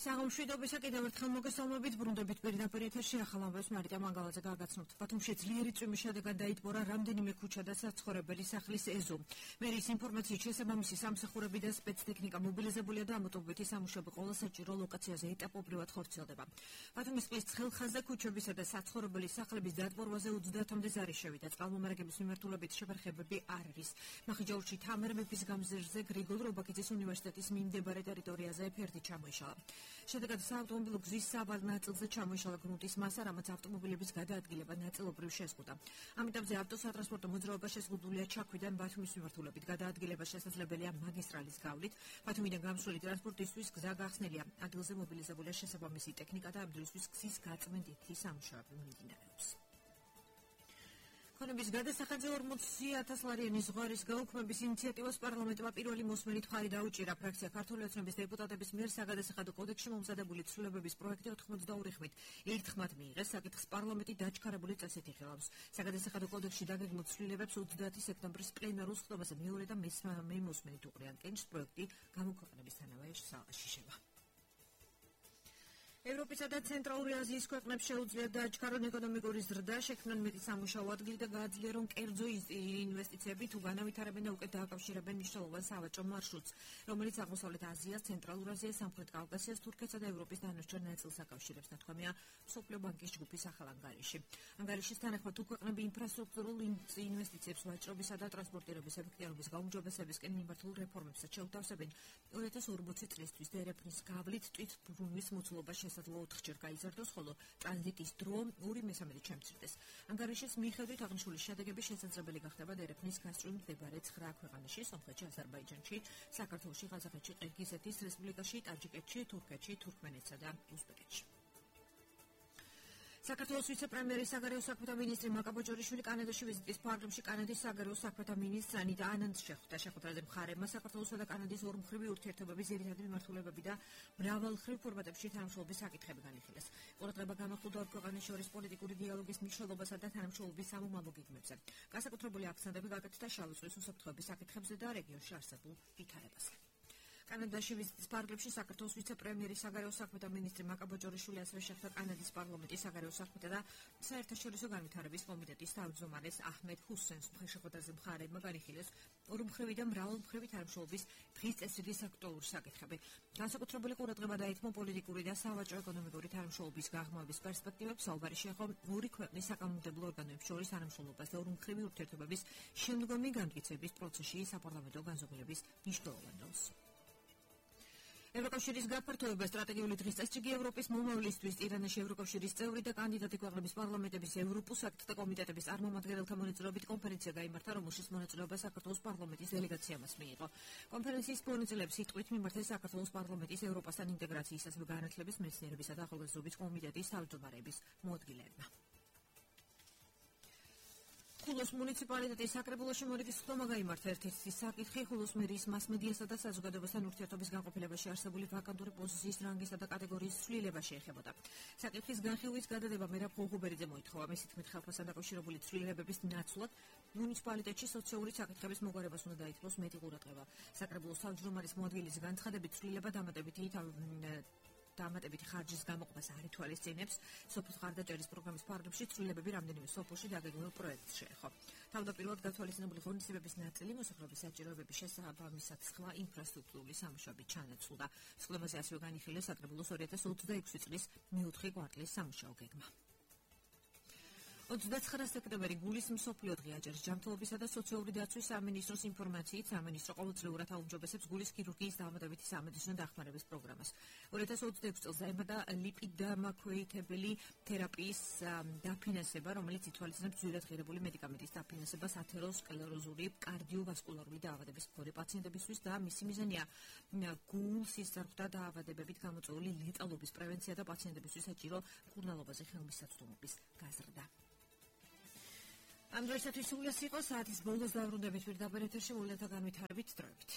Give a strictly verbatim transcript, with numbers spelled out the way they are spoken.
საღამშვიდობისა კიდევ ერთხელ მოგესალმებით ბრუნდებით პირდაპირ ეთერში ახალ ამბებს მარიტა მანგალაძე გაგაცნობთ. ბათუმში ძლიერი წვიმის შედეგად დაიტბორა რამდენიმე ქუჩა და საცხოვრებელი სახლის ეზო. მერის ინფორმაციით შესაბამისი სამსახურები და სპეცტექნიკა მობილიზებულია და ამოტოვებითი სამუშაოები ყველა საჭირო ლოკაციაზე ეტაპობრივად ხორციელდება. ბათუმის წყლის ცხელხაზზე ქუჩებისა და საცხოვრებელი სახლების დატბორვაზე ოცდაათამდე ზარი შევიდა. წყალმომარაგების მიმართულებით შეფერხებები არ არის. მახიჯაურში თამარ მეფის გამზირზე გრიგოლ რობაქიძის უნივერსიტეტის მიმდებარე ტერიტორიაზე ფერდი ჩამოიშალა. შედეგად საავტომობილო გზის სავალ ნაწილზე ჩამოიშალა გრუნტის მასა, რამაც ავტომობილების გადაადგილება ნაწილობრივ შეზღუდა. ამიტომზე ავტოსატრანსპორტო მოძრაობა შეზღუდულია ჩაქვიდან ბათუმის მიმართულებით. გადაადგილება შესაძლებელია მაგისტრალის გავლით. ბათუმიდან გამსვლელი ტრანსპორტისთვის გზა გახსნილია. ადგილზე მობილიზებულია შესაბამისი ტექნიკა და ამ დროისთვის გზის გაწმენდითი სამუშაოები მიმდინარეობს. ქონების გადასახადზე ორმოცი ათას ლარიანი ზღვარის გაუქმების ინიციატივას პარლამენტმა პირველი მოსმენით მხარი დაუჭირა. ფრაქცია ქართული ოცნების დეპუტატების მიერ საგადასახადო კოდექსში მომზადებული ცვლილებების პროექტი ოცდაორი ხმით ერთხმად მიიღეს. საკითხს პარლამენტი დაჩქარებული წესით იხილავს. საგადასახადო კოდექსში დაგეგმილ ცვლილებებს ოცდაათი სექტემბრის პლენარულ სხდომაზე მეორე და მესამე მოსმენით უყრიან კენჭს. პროექტი გამოქვეყნებისთანავე შეშება. ევროპისა და ცენტრალური აზიის ქვეყნებს შეუძლიათ დააჩქარონ ეკონომიკური ზრდა, შექმნან მეტი სამუშაო ადგილი და გააძლიერონ კერძო ინვესტიციები, თუ განავითარებენ და უკეთ დააკავშირებენ მნიშვნელოვან სავაჭრო მარშრუტს, რომელიც აღმოსავლეთ აზიას, ცენტრალურ აზიას, სამხრეთ კავკასიას, თურქეთსა და ევროპის დანარჩენ ნაწილს აკავშირებს, ნათქვამია მსოფლიო ბანკის ჯგუფის ახალ ანგარიში. ანგარიშის თანახმად თუ ქვეყნები ინფრასტრუქტურულ ინვესტიციებს ვაჭრობისა და ტრანსპორტირების ეფექტიანობის გაუმჯობესებისკენ მიმართულ რეფორმებსაც შეუთავსებენ, ორი ათას ორმოცი წლისთვის დერეფნის გავლით თვით ბრუნვის მოცულობა შესაძლოა ოთხჯერ გაიზარდოს, ხოლო ტრანზიტის დრო ორი მესამედით შემცირდეს. ანგარიშის მიხედვით აღნიშნული შედეგები შესაძლებელი გახდება დერეფნის გასწვრივ მდებარე ცხრა ქვეყანაში, სომხეთში, აზერბაიჯანში, საქართველოში, ყაზახეთში, ყირგიზეთის რესპუბლიკაში, ტაჯიკეთში, თურქეთში, თურქმენეთსა და უზბეკეთში. საქართველოს ვიცე-პრემიერის საგარეო საქმეთა მინისტრი მაკა ბოჭორიშვილი კანადაში ვიზიტის ფარგლებში კანადის საგარეო საქმეთა მინისტრს ანიტა ანანდს შეხვდა. შეხვედრაზე მხარეებმა საქართველოსა და კანადის ორმხრივი ურთიერთობების ძირითადი მიმართულებები და მრავალმხრივ ფორმატებში თანამშრომლობის საკითხები განიხილეს. ყურადღება გამახვილდა ორ ქვეყანას შორის პოლიტიკური დიალოგის მნიშვნელობასა და თანამშრომლობის სამომავლო გეგმებზე. განსაკუთრებული აქცენტები გაკეთდა შავი ზღვის უსაფრთხოების საკითხებზე და რეგიონში არსებულ ვითარებაზე. კანადაში ვიზიტის ფარგლებში საქართველოს ვიცე-პრემიერის საგარეო საქმეთა მინისტრი მაკა ბოჭორიშვილი ასევე შეხვდა კანადის პარლამენტის საგარეო საქმეთა და საერთაშორისო განვითარების კომიტეტის თავმჯდომარეს აჰმედ ჰუსენს. შეხვედრაზე მხარეებმა განიხილეს ორმხრივი და მრავალმხრივი თანამშრომლობის დღის წესრიგის აქტუალური საკითხები. განსაკუთრებული ყურადღება დაეთმო პოლიტიკური და სავაჭრო-ეკონომიკური თანამშრომლობის გაღრმავების პერსპექტივებს. საუბარი შეეხო ორი ქვეყნის საკანონმდებლო ორგანოებს შორის თანამშრომლობას და ორმხრივი ურთიერთობების შემდგომი განმტკიცების პროცესში საპარლამენტო განზომილების მნიშვნელოვან როლს. ევროკავშირის გაფართოება სტრატეგიული დღის წესრიგი ევროპის მომავლისთვის ტირანაში ევროკავშირის წევრი და კანდიდატი ქვეყნების პარლამენტების ევროპულ საკითხთა კომიტეტების წარმომადგენელთა მონაწილეობით კონფერენცია გაიმართა, რომელშიც მონაწილეობა საქართველოს პარლამენტის დელეგაციამაც მიიღო. კონფერენციის მონაწილეებს სიტყვით მიმართეს საქართველოს პარლამენტის ევროპასთან ინტეგრაციის, ასევე განათლების, მეცნიერებისა და ახალგაზრდობის კომიტეტის თავმჯდომარეების მოადგილეებმა. ხულოს მუნიციპალიტეტის საკრებულოში მორიგის ხდომა გაიმართა. ერთ-ერთი საკითხი ხულოს მერიის მასმედიასა და საზოგადოებასთან ურთიერთობის განყოფილებაში არსებული ვაკანტური პოზიციის რანგისა და კატეგორიის ცვლილება შეეხებოდა. საკითხის განხილვის გადადება მერაბ ღუღუბერიძე მოითხოვა. მისი თქმით, ხალხთან დაკავშირებული ცვლილებების ნაცვლად მუნიციპალიტეტში სოციალური საკითხების მოგვარებას უნდა დაითმოს მეტი ყურადღება. საკრებულოს თავმჯდომარის მოადგილის განცხადებით, ცვლილება დამატებითი დამატებითი ხარჯის გამოყვას არ ითვალისწინებს. სოფლის ხარდაჭერის პროგრამის ფარგლებში ცვლილებები რამდენიმე სოფელში დაგეგმილ პროექტს შეეხო. თავდაპირველად გათვალისწინებული ღონისძიებების ნაწილი მოსახლეობის საჭიროებების შესაბამისად სხვა ინფრასტრუქტურული სამუშაოებით ჩანაცვლდა. სხდომაზე ასევე განიხილეს საკრებულოს ორი ათას ოცდაექვსი წლის მეოთხე კვარტლის სამუშაო გეგმა. ოცდაცხრა სექტემბერი გულის მსოფლიო დღე აჯერს ჯანმრთელობისა და სოციალური დაცვის სამინისტროს ინფორმაციით სამინისტრო ყოველწლიურად აუმჯობესებს გულის ქირურგიის დამატებითი სამედიცინო დახმარების პროგრამას. ორი ათას ოცდაექვსი წელს დაემატა ლიპიდდამაქვეითებელი თერაპიის დაფინანსება, რომელიც ითვალისწინებს ძვირად ღირებული მედიკამენტის დაფინანსებას ათეროსკლეროზული კარდიოვასკულარული დაავადების მქონე პაციენტებისთვის და მისი მიზანია გულის სისხლძარღვთა დაავადებებით გამოწვეული ლეტალობის პრევენცია და პაციენტებისთვის საჭირო მკურნალობაზე ხელმისაწვდომობის გაზრდა. ამ დროისათვის სულ ეს იყო საათის ბოლოს დავრუნდებით პირდაპირ ეთერში მოვლენათა განვითარებით დროებით.